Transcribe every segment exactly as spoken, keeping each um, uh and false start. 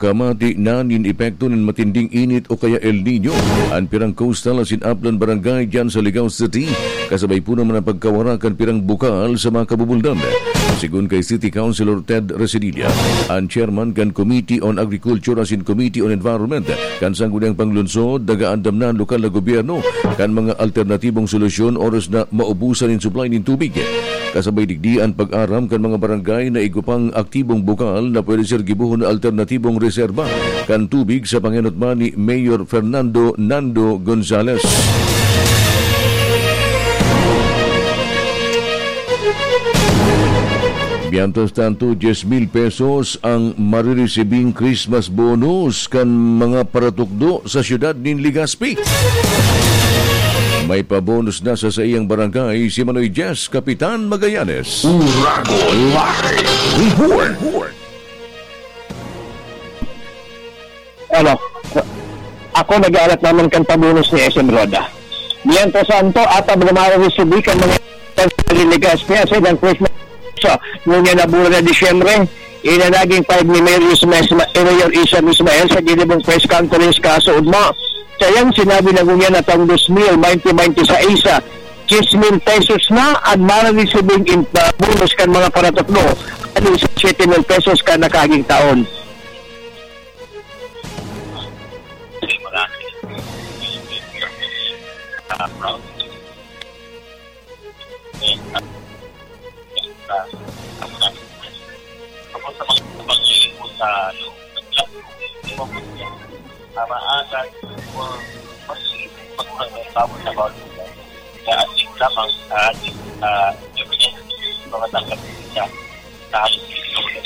Kamati na nin epekto nin matinding init o kaya El Niño an pirang coastal asin upland barangay diyan sa Ligao City, kasabay po naman ang pagkawara kan pirang bukal sa mga kabubuldan. Sigon kay City Councilor Ted Residilla, an chairman kan Committee on Agriculture asin Committee on Environment kan Sangguniang Panglungsod, nagaandam na an lokal na gobyerno kan mga alternatibong solusyon oras na maubusan nin supply nin tubig. Kasabay digdi an pag-aram kan mga barangay na igwa pang aktibong bukal na pwede ser gibohon na alternatibong reserba kan tubig sa pangenot man ni Mayor Fernando Nando Gonzales. Mientras tanto, diyes mil pesos ang mariresibing Christmas bonus kan mga paratukdo sa siyudad nin Legazpi. May pabonus na sa saiyang barangay si Manoy Jess Kapitan Magallanes. Uragon Live Report. Ano, ako nag-aalat naman kan pabonus ni S M Roda. Mientras tanto, ata ba naman resibi kan mga Legazpi sa ilang Christmas sa ngunyan na bulan na Disyembre, inanaging pahayag ni Mayor Isma, Isma, eh, Mayor Isam Ismael sa ginibong press conference kaso ugma. Sa iyang sinabi na ngunyan na taong dos mil baynte baynte sais, diyes mil pesos na an mareresibing in, ah, bonus kan mga paratukdo, ano sa siyete mil pesos kan nakaaging taon.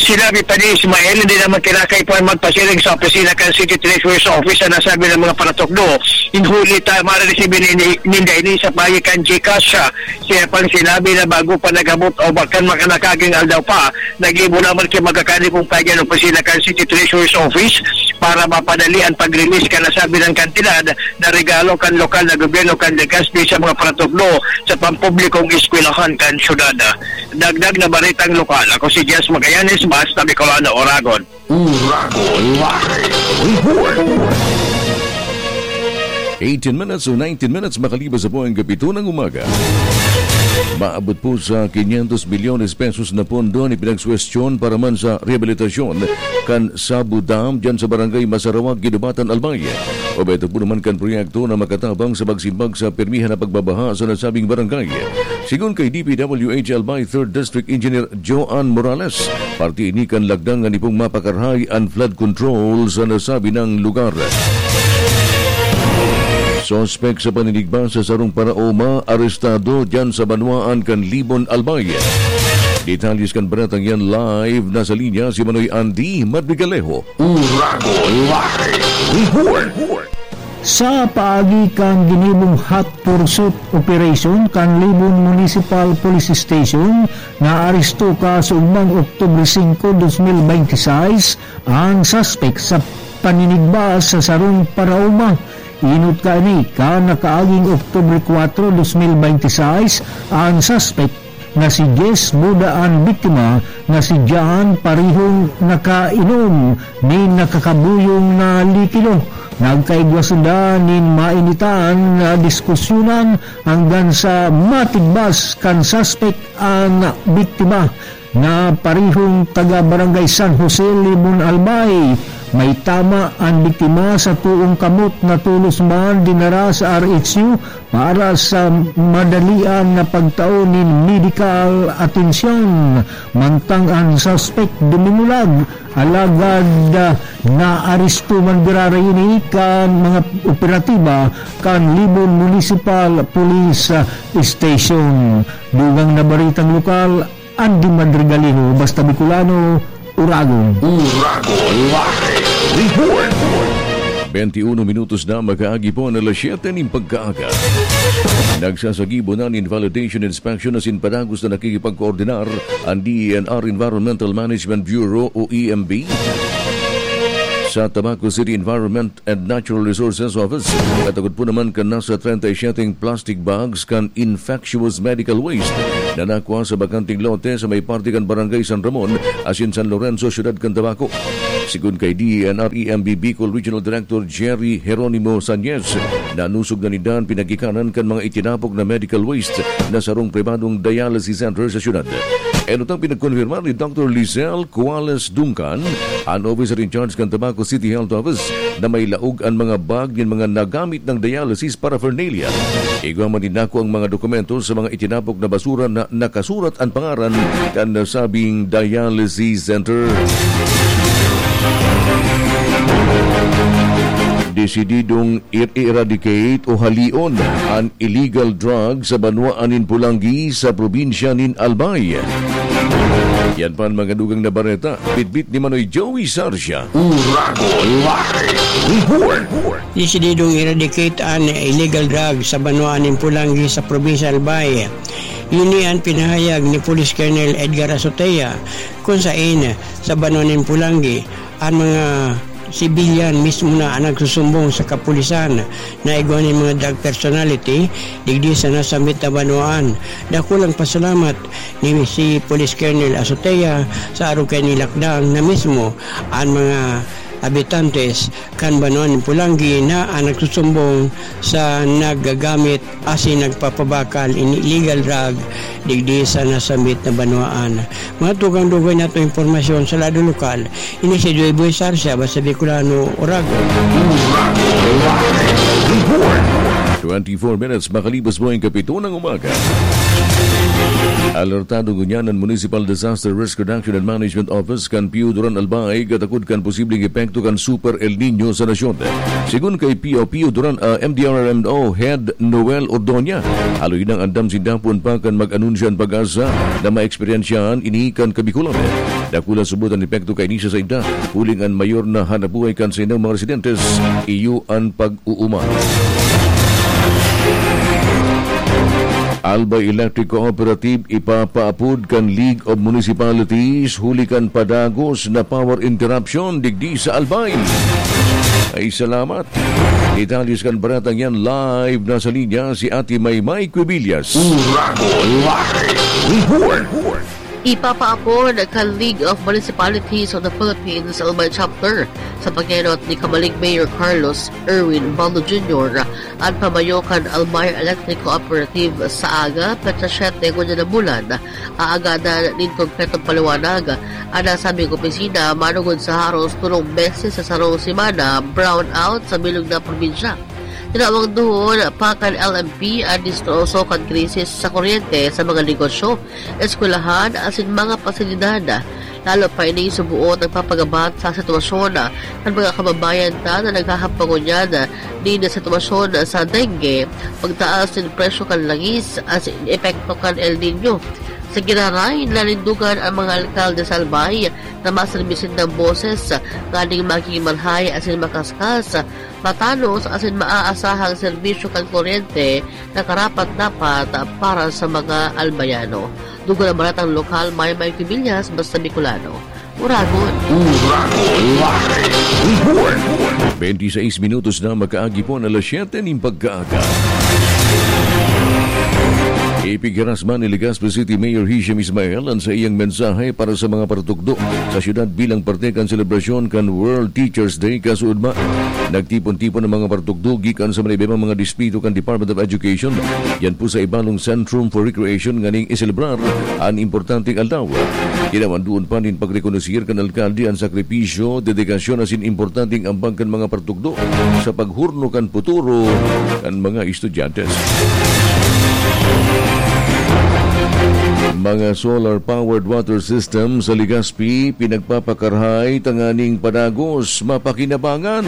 Sinabi pa ni Ismael, hindi naman kinakaipuhan magpasiring sa opisina kan City Treasurer's Office ang nasabi na mga paratukdo. Huli ta, mareresibin ini, ninda ini sa paagi kan GCash. Siya pang sinabi na bago pa nag-abot o bakan maka nakaaging aldaw pa, nag-ibo naman ki magkakani kung paagi an opisina kan City Treasurer's Office para mapadali ang pag-release kan nasabi na kantidad na regalo kan lokal na gobyerno kan Legazpi sa mga paratukdo sa pampublikong eskwelahan kan syudad. Dagdag na baretang lokal, ako si Jess Magallanes, Basta Bicolano, Oragon. Uragon Live Report. Eighteen minutes o nineteen minutes makalipas sa po ang kapito ng umaga. Maabot po sa quinientos milyones pesos na pondo an ipinagsuwestiyon para man sa rehabilitasyon kan Sabo Dam diyan sa Barangay Masarawag, Guinobatan, Albay. Obheto po naman kan proyekto na makatabang sa pagsimbag sa permihan na pagbabaha sa nasabing barangay. Sigon kay D P W H Albay Third District Engineer Joan Morales, parte ini kan lagdang na nipong mapakarahay an flood control sa nasabi nang lugar. Suspek sa paninigba sa sarong paraoma arestado diyan sa banwaan kan Libon, Albay. Detalles kan baretang yan, live na sa linya si Manoy Andy Madrigalejo. Uragon Live Report. Sa paagi kan ginibong hot pursuit operation kan Libon Municipal Police Station, naaresto kaso ugmang Oktubre singko, dos mil baynte sais, ang suspek sa paninigba sa sarong paraoma. Inot kaini, kan nakaaging Oktubre kwatro, dos mil baynte sais, ang suspek na si Jess Buda an biktima na si John parehong nakainom nin nakakabuyong na likido. Nagkaigwa sinda nin mainitan na diskusyonan hanggang sa matigbas kan suspek an biktima na parehong taga Barangay San Jose, Libon, Albay. May tama an biktima sa toong kamot na tolos man dinara sa R H U para sa madalian na pagtao nin medikal atensyon. Mantang an suspek dumimulag, alagad, ah, naaresto man giraray ini kan mga operatiba kan Libon Municipal Police, ah, Station. Dugang na baretang lokal, Andy Madrigalino, Basta Bicolano, Uragon. Uragon Live Report. Twenty-uno minutos na makaagi po ang alas siyete nin pagkaaga. Nagsasagibo na nin validation inspection asin padagos na nakikipagkoordinar ang D E N R Environmental Management Bureau o E M B sa Tabaco City Environment and Natural Resources Office. Katakod po naman kan nasa treinta y siete plastic bags kan infectious medical waste na nakwa sa bakanteng lote sa may parte kan Barangay San Ramon, asin San Lorenzo, Siyudad kan Tabaco. Sigon kay D E N R E M B Bicol Regional Director Jerry Jeronimo Sañez, nanusog na ninda an pinagikanan kan mga itinapok na medical waste na sarong pribadong dialysis center sa siyudad. Enot ang pinagkonfirmar ni Doctor Lizelle Cuales Duncan, an officer in charge kan Tabaco City Health Office, na may laog an mga bag nin mga nagamit nang dialysis paraphernalia. Igwa man nin nako ang mga dokumento sa mga itinapok na basura na nakasurat an pangaran kan nasabing dialysis center. Desididong i-eradicate o halion an illegal drug sa banwaan nin Pulanggi sa probinsya nin Albay. Yan pa an mga dugang na bareta. Bitbit ni Manoy Joey Sarsia. Uragon Live Report. Desididong eradicate an illegal drug sa banwaan nin Pulanggi sa probinsya Albay. Ini an pinahayag ni Police Colonel Edgar Azotea, kun saen sa banwaan nin Pulanggi, an mga sibilyan mismo na an nagsusumbong sa kapulisan na igwa nin mga drug personality digdi sa nasambit na banwaan. Dakulang pasalamat ni si Police Colonel Azotea sa arog kaini lakdang na mismo an mga habitantes kan banwaan nin Pulanggi na an nagsusumbong sa naggagamit asin nagpapabakal nin illegal drug digdi sa nasambit na banwaan. Mga tugang-dugay na itong impormasyon sa lado lokal, ini si Joy Boy Sarsia, basta Bicolano, Oragon. Twenty-four minutes makalipas po ang kapito ng umaga. Alertado ngunyan an Municipal Disaster Risk Reduction and Management Office kan Pio Duran Albay katakod kan posibleng epekto kan Super El Niño sa nasyon. Sigon kay P O P Duran, ah, M D R R M O Head Noel Ordoña, haloy nang andam sinda poon pa kan mag-anunsyo an PAGASA na maeksperiensyahan ini kan Kabikolan. Dakula subot an epekto kaini sa sainda, huling an mayor na hanapbuhay kan saindang mga residentes, iyo an pag-uuma. Albay Electric Cooperative ipapaapod kan League of Municipalities huli kan padagos na power interruption digdi sa Albay. Ay, salamat. Detalye sa baretang yan, live na sa linya si Ate Maymay Quibillas. Uragon Live Report. Ipapaapod kan League of Municipalities of the Philippines Albay Chapter sa pag-enot ni Kamalig Mayor Carlos Erwin Baldo Junior an pamayo kan Albay Electric Cooperative sa aga, petsa siyete ngunyan na bulan. Aagadan nin konkretong paliwanag an nasabing opisina manongod sa haros tolong beses sa sarong semana brownout sa bilog na probinsya. Tinawag duon pa kan L M P an distroso kan krisis sa kuryente sa mga negosyo, eskwelahan asin mga pasilidad. Lalo pa ining suboot nagpapagabat sa sitwasyon kan mga kababayan ta na naghahampang ngunyan nin sitwasyon sa dengue, pagtaas nin presyo kan langis asin epekto kan El Niño. Sa giraray, nanindogan an mga alkalde sa Albay na maserbi sindang boses nganing magigin marhay asin makaskas, matanos asin maaasahang serbisyo kan kuryente na karapat-dapat para sa mga Albayano. Dugo na baretang lokal, Maymay Quibillas, basta Bicolano. Uragon. Uragon Live Report. Twenty-six minutos na makaagi po ang alas siyete nin pagkaaga. Ipighiras man ni Legazpi City Mayor Hisham Ismael an saiyang mensahe para sa mga patukdo sa siyudad bilang parte kan selebrasyon kan World Teachers Day kasuodma. Nagtipon-tipon ang mga patukdo gikan sa mga iba mga distrito kan Department of Education, yan po sa Ibalong Centrum for Recreation, nganing iselebrar an importanteng aldaw. Kinawan duon pa nin pagrekonosir kan alkalde an sakripisyo, dedikasyon asin importanteng ambag kan mga patukdo sa paghurno kan puturo kan mga estudyante. Mga solar-powered water system sa Legazpi pinagpapakarahay tanganing padagos mapakinabangan.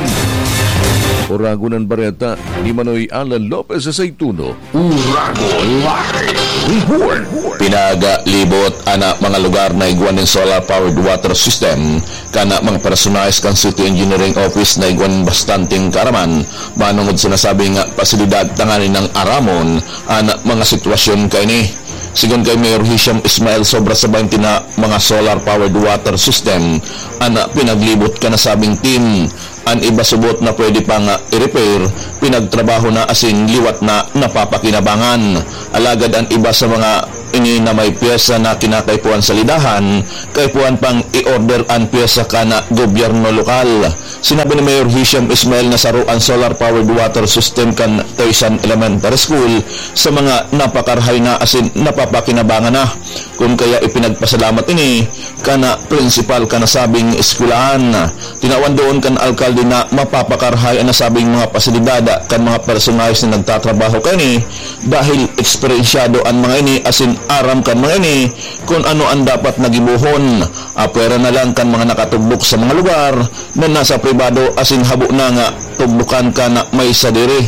Uragon an bareta ni Manoy Alan Lopez sa Saituno. Uragon Live Report. Pinagalibot an mga lugar na igwa nin solar-powered water system kan mga personahes kan City Engineering Office na igwa nin bastanteng kaaraman manongod sa nasabing pasilidad tanganing aramon an mga sitwasyon kaini. Sigon kay Mayor Hisham Ismail, sobra sa baynte na mga solar-powered water system an pinaglibot kan nasabing team. An iba subot na pwede pang i-repair, pinagtrabaho na asin liwat na napapakinabangan. Alagad an iba sa mga ini na may pyesa na kinakaipuhan sa lidahan, kaipuhan pang i-order an pyesa kan gobyerno lokal. Sinabi ni Mayor Hisham Ismail na saro an solar-powered water system kan Toysan Elementary School sa mga napakarahay na asin napapakinabangan na. Kun kaya ipinagpasalamat ini kan prinsipal kan nasabing eskwelahan. Tinawan doon kan alkalde na mapapakarahay an nasabing mga pasilidad kan mga personahes na nagtatrabaho kaini, dahil eksperensyado an mga ini asin aram kan mga ini kun ano an dapat na gibohon. Apwera na lang kan mga nakatugdok sa mga lugar na nasa pribado asin habo na nga tugdokan kan may sadiri.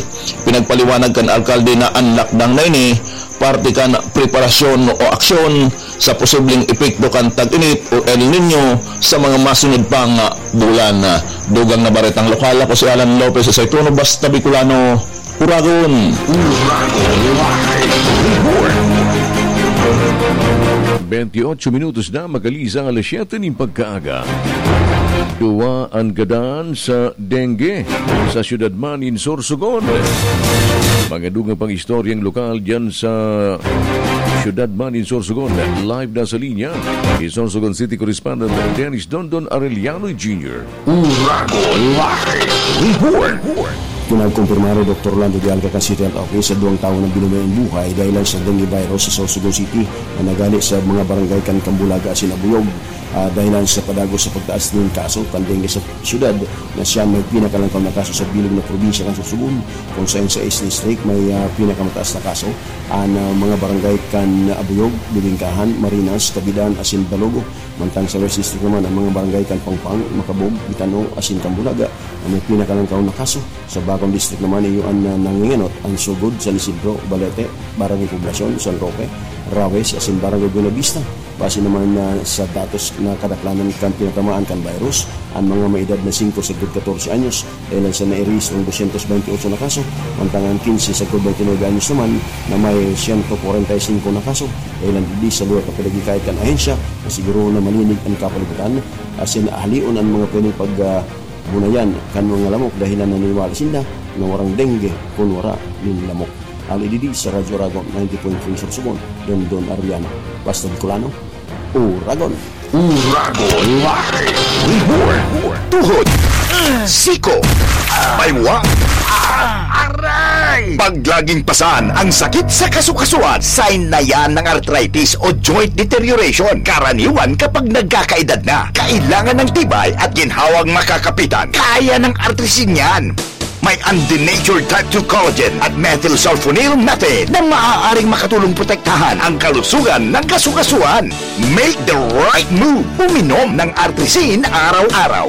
Pinagpaliwanag kan alkalde na an lakdang na ini parte kan preparasyon o aksyon sa posibleng epekto kan tag-init o El Niño sa mga masunod pang bulan. Dugang na baretang lokal, ako si Alan Lopez sa Ituno, Basta Bicolano, Uragon. Uragon Live Report. Bentiocho minutos na makaliza ang alas siyete nin pagkaaga. Duwa an gadan sa dengue sa siyudad man nin Sorsogon. Mga dugang pang istoryang lokal diyan sa siyudad man nin Sorsogon. Live na sa linya, si Sorsogon City Correspondent Dennis Dondon Arellano Junior. Uragon Live Report. Kinagkumpirma ni Doktor Lando de Alca kan City Health Office sa duwang tawo na binumayan buhay dahilan sa dengue virus sa Sorsogon City na nagali sa mga barangay kan Cambulaga asin Abuyog. Ah, dahilan sa padagos sa pagtaas nin kaso kan dengue sa siyudad, na siya may pinakalangkaw na kaso sa bilog na probinsya kan Sorsogon, kung saen sa East District may, ah, pinakamataas na kaso. An, ah, mga barangay kan Abuyog, Bibingkahan, Marinas, Cabidan asin Balogo. Mantang sa West District naman, ang mga barangay kan Pangpang, Macabog, Bitano asin Cambulaga na may pinakalangkaw na kaso. Sa Bacon District naman, iyo an, ah, nangingenot an sugod sa San Isidro, Balete, Barangay Poblacion, San Roque, Rawes asin Barangay Buenavista. Base naman na sa datos na kadaklanan kan tinatamaan kan virus, an mga may edad na singko sagkod katorse anyos, dahilan sa nairehistro ang dosyentos bente otso na kaso, mantang ang kinse sagkod bente nuebe anyos naman na may siyento kwarenta y singko na kaso. Dahilan digdi, sa lugar na pinaghikayat kan ahensya na sigurohon na malinig an kapalibutan, asin ahalion an mga pwedeng pag, ah, bunayan kan mga lamok, dahilan naniniwala sinda na warang dengue kun wara nin lamok. Ali digdi sa Radyo Uragon ninety point three Sorsogon, Dondon Arellano, Basta Bicolano, Uragon. Uragon Live Report. Tuhod, siko, paywak, aray! Pag laging pasan ang sakit sa kasukasuan, sign na yan ng arthritis o joint deterioration. Karaniwan kapag nagkakaedad na, kailangan ng tibay at ginhawang makakapitan. Kaya ng Artrisin yan. May undenatured type two collagen at methylsulfonyl methane na maaaring makatulong protektahan ang kalusugan ng kasukasuan. Make the right move. Uminom ng Artrisin araw-araw.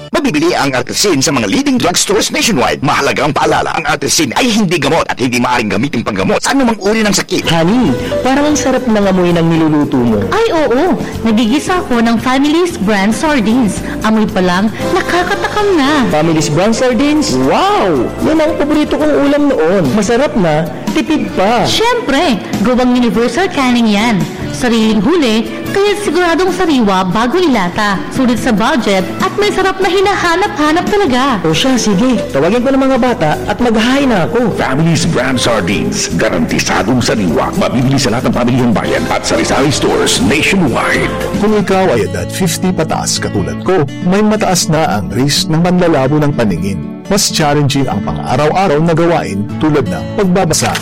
Mabibili ang Artrisin sa mga leading drugstores nationwide. Mahalagang paalala, ang Artrisin ay hindi gamot at hindi maaaring gamitin panggamot sa anumang uri ng sakit. Honey, parang ang sarap ng amoy ng niluluto mo. Ay, oo! Nagigisa ako ng Family's Brand Sardines. Amoy pa lang, nakakatakam na. Family's Brand Sardines? Wow! Yan ang paborito kong ulam noon. Masarap na, tipid pa. Siyempre, gawang universal canning yan. Sariling huli, kaya siguradong sariwa bago ilata. Sulit sa budget at may sarap na hinahanap-hanap talaga. O siya, sige. Tawagin ko ng mga bata at maghahain na ako. Family's Brand Sardines. Garantisadong sariwa. Mabibili sa lahat ng pamilihang bayan at sari-sari stores nationwide. Kung ikaw ay edad fifty pataas katulad ko, may mataas na ang risk ng manlalabo ng paningin. Mas challenging ang pang-araw-araw na gawain tulad ng pagbabasa,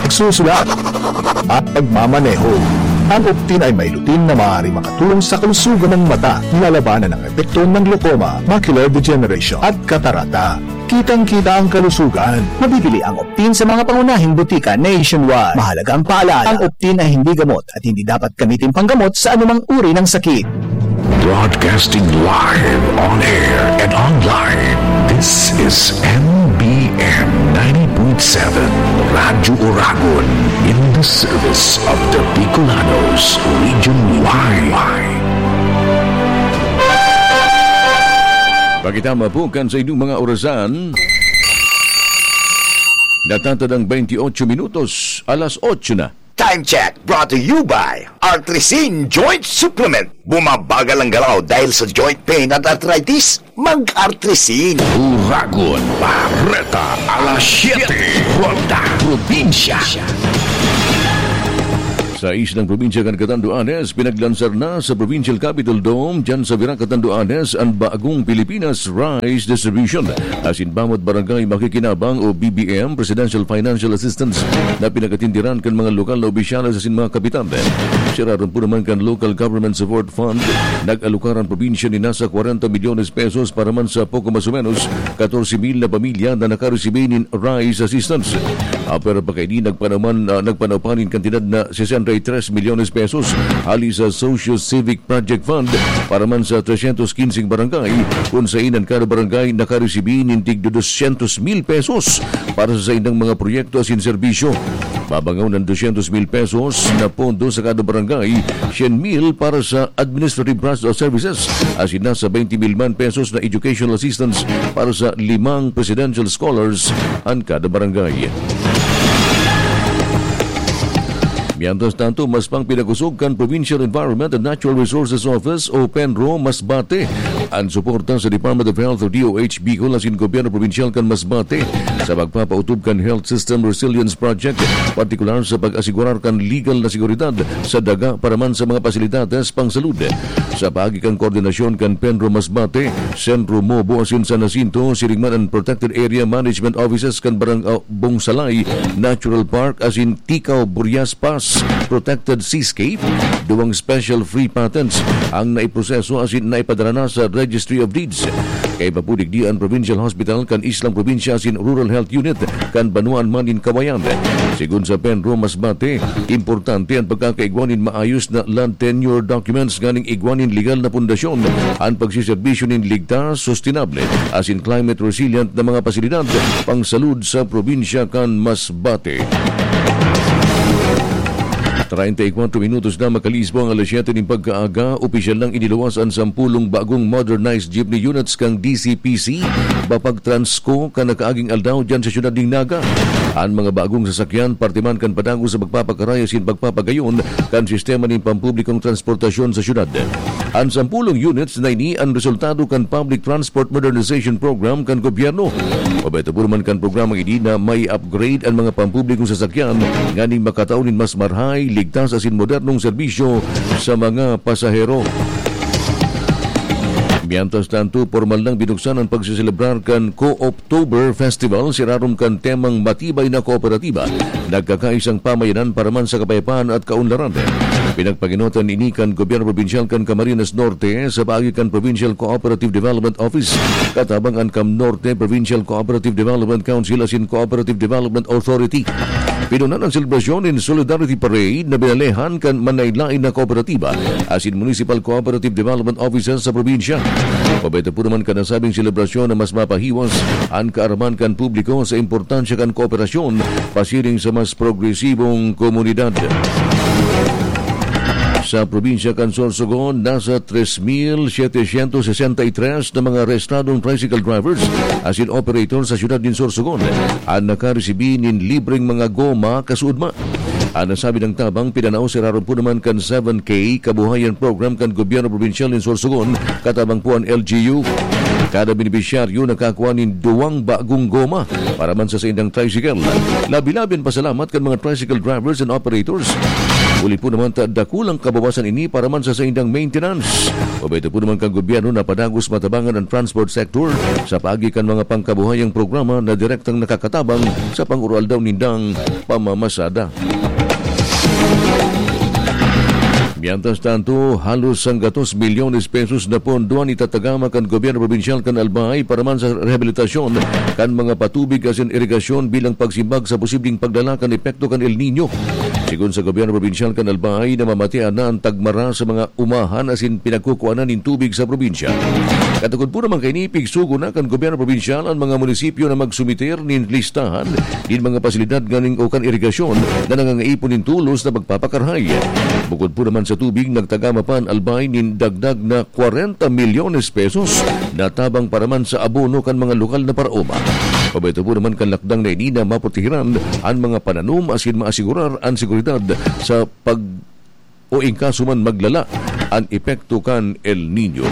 pagsusulat, at pagmamaneho. Ang Optin ay may lutein na maaaring makatulong sa kalusugan ng mata, nilalabanan ang epekto ng glaucoma, macular degeneration, at katarata. Kitang-kita ang kalusugan. Mabibili ang Optin sa mga pangunahing butika nationwide. Mahalagang paalala, ang Optin ay hindi gamot at hindi dapat gamitin panggamot sa anumang uri ng sakit. Broadcasting live, on air and online. This is M B M ninety point seven Radyo Uragon, in the service of the Bicolanos region wide. Pagkitama po kan sa inyong mga orasan. Natatadang twenty-eight minutos, alas otso na. Time check brought to you by Artrisin Joint Supplement. Bumabagal ang galaw dahil sa joint pain at arthritis? Mag-Artrisin. Uragon, Bareta, alas siyete, Ronda, Probinsya. Sa islang probinsya kan Catanduanes, pinaglansar na sa Provincial Capitol Dome, dyan sa Virac, Catanduanes, ang Bagong Pilipinas Rice Distribution. Asin bawat barangay makikinabang o B B M, Presidential Financial Assistance, na pinagatindiran kan mga lokal na opisyales asin mga kapitan. Siraron po naman kan Local Government Support Fund, nag-alokar ang probinsya ni nasa kwarenta milyones pesos para man sa poko mas o menos katorse mil na pamilya na nakaresibi nin rice assistance. Ah, pero pakaini nagpanaman, ah, nagpanaw pa nin kantidad na sesenta y tres milyones pesos hali sa Socio-Civic Project Fund para man sa tresyentos kinseng barangay, kun sain an kada barangay nakaresibi nin tig dosyentos mil pesos para sa saindang mga proyekto asin serbisyo. Babangaw ng dosyentos mil pesos na pondo sa kada barangay, syen mil para sa administrative branch o services, asin nasa twenty mil man pesos na educational assistance para sa limang presidential scholars an kada barangay. Mientras tanto, mas pang pinagusog kan Provincial Environment and Natural Resources Office o PENRO Masbate an suporta sa Department of Health o D O H Bicol asin Gobyerno Probinsyal kan Masbate sa pagpapautob kan Health System Resilience Project, partikular sa pag-asigurar kan legal na seguridad sa daga para man sa mga pasilidades pangsalud. Sa paagi kan koordinasyon kan PENRO Masbate, Sentro Mobo asin San Jacinto, siring man an Protected Area Management Offices kan Barang-, ah, Bongsalay Natural Park asin Ticao Burias Pass Protected Seascape, duwang special free patents ang naiproseso asin naipadara na sa Registry of Deeds. Kaiba po digdi an Provincial Hospital kan Islang Probinsya asin Rural Health Unit kan Banwaan man nin Kawayan. Sigon sa PENRO Masbate, importante an pagkakaigwa nin maayos na land tenure documents nganing igwa nin legal na pundasyon an pagseserbisyo nin ligtas, sustainable, asin climate resilient na mga pasilidad pangsalud sa probinsya kan Masbate. Treinta y cuatro minutos na makaliis po ang alas siyete nin pagkaaga, opisyal nang iniluwas an sampulong bagong modernized jeepney units kan D C P C, Bapag Transco, kan nakaaging aldaw diyan sa siyudad nin Naga. An mga bagong sasakyan, parte man kan padagos sa pagpapakaray asin pagpapagayon kan sistema nin pampublikong transportasyon sa siyudad. An sampulong units na ini an resultado kan Public Transport Modernization Program kan gobyerno. Obheto po naman kan programang ini na mai-upgrade an mga pampublikong sasakyan nganing makatao nin mas marahay, ligtas asin modernong serbisyo sa mga pasahero. Mientras tanto, pormal nang binuksan an pagseselebrar kan Co-Optober Festival, sirarom kan temang Matibay na Kooperatiba, Nagkakaisang Pamayanan para man sa Kapayapaan at Kaunlaran. Pinagpaginotan ini kan Gobyerno Probinsyal kan Camarines Norte sa paagi kan Provincial Cooperative Development Office, katabang an CamNorte Provincial Cooperative Development Council asin Cooperative Development Authority. Pinunan an selebrasyon nin Solidarity Parade na binalehan kan manlaen-laen na kooperatiba asin Municipal Cooperative Development Offices sa probinsya. Obheto po naman kan nasabing selebrasyon na mas mapahiwas an kaaraman kan publiko sa importansya kan kooperasyon pasiring sa mas progresibong komunidad. Sa probinsya kan Sorsogon, nasa tres mil setecientos sesenta y tres na mga rehistradong tricycle drivers asin operator sa siyudad nin Sorsogon an nakaresibi nin libreng mga goma kasuodma. An nasabing tabang pinanao sirarom po naman kan seven K Kabuhayan Program kan Gobyerno Probinsyal nin Sorsogon, katabang po an L G U. Kada benepisyaryo nakakua nin duwang bagong goma para man sa saindang tricycle. Labi-labi an pasalamat kan mga tricycle drivers and operators. Huli po naman ta dakulang kabawasan ini para man sa saindang maintenance. Obheto po naman kan gobyerno na padagos matabangan an transport sector sa paagi kan mga pangkabuhayang programa na direktang nakakatabang sa pang-aroaldaw nindang pamamasada. Mientras tanto, halos sanggatos milyones pesos na pondo an itatagama kan gobyerno probinsyal kan Albay para man sa rehabilitasyon kan mga patubig asin irigasyon bilang pagsimbag sa posibleng paglala kan epekto kan El Niño. Sigon sa gobyerno probinsyal kan Albay, namamatean na an tagmara sa mga umahan asin pinagkukuanan nin tubig sa probinsya. Katukod po naman kaini, pigsugo na kan gobyerno probinsyal an mga munisipyo na magsumiter nin listahan nin mga pasilidad nganing o kan irigasyon na nangangaipon nin tulos na pagpapakarahay. Bukod po naman sa tubig, nagtagama pa an Albay nin dagdag na kwarenta milyones pesos na tabang para man sa abono kan mga lokal na paraoma. Pabayto po naman kan lakdang na ini na maprotehiran an mga pananom asin maasigurar an seguridad sa pag o in kaso man maglala an epekto kan El Nino.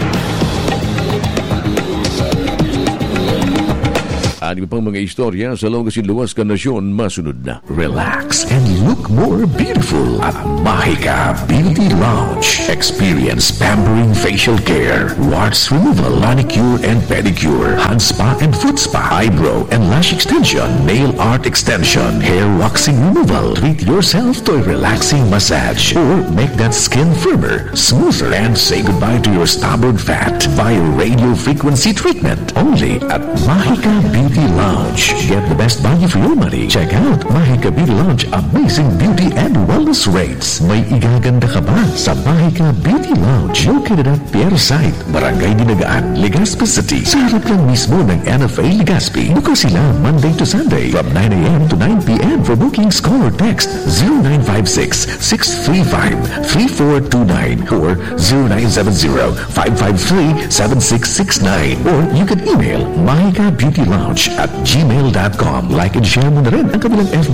An iba pang mga istorya sa laog asin luwas kan nasyon masunod na. Relax and look more beautiful at Mahika Beauty Lounge. Experience pampering facial care, warts removal, manicure and pedicure, hand spa and foot spa, eyebrow and lash extension, nail art extension, hair waxing removal. Treat yourself to a relaxing massage or make that skin firmer, smoother, and say goodbye to your stubborn fat via radio frequency treatment. Only at Mahika Beauty Lounge. Get the best value for your money. Check out Mahika Beauty Lounge Amazing Beauty and Wellness Rates. May igaganda ka ba sa Mahika Beauty Lounge? Located at Pier Site, Barangay Dinagaan, Legazpi City. Sa harap lang mismo ng N F A Legazpi. Bukas sila Monday to Sunday from nine a m to nine p m. For bookings, call or text zero nine five six, six three five, three four two nine or zero nine seven zero, five five three, seven six six nine. Or you can email mahika beauty lounge at gmail dot com. Like and share mo na rin ang kanilang F B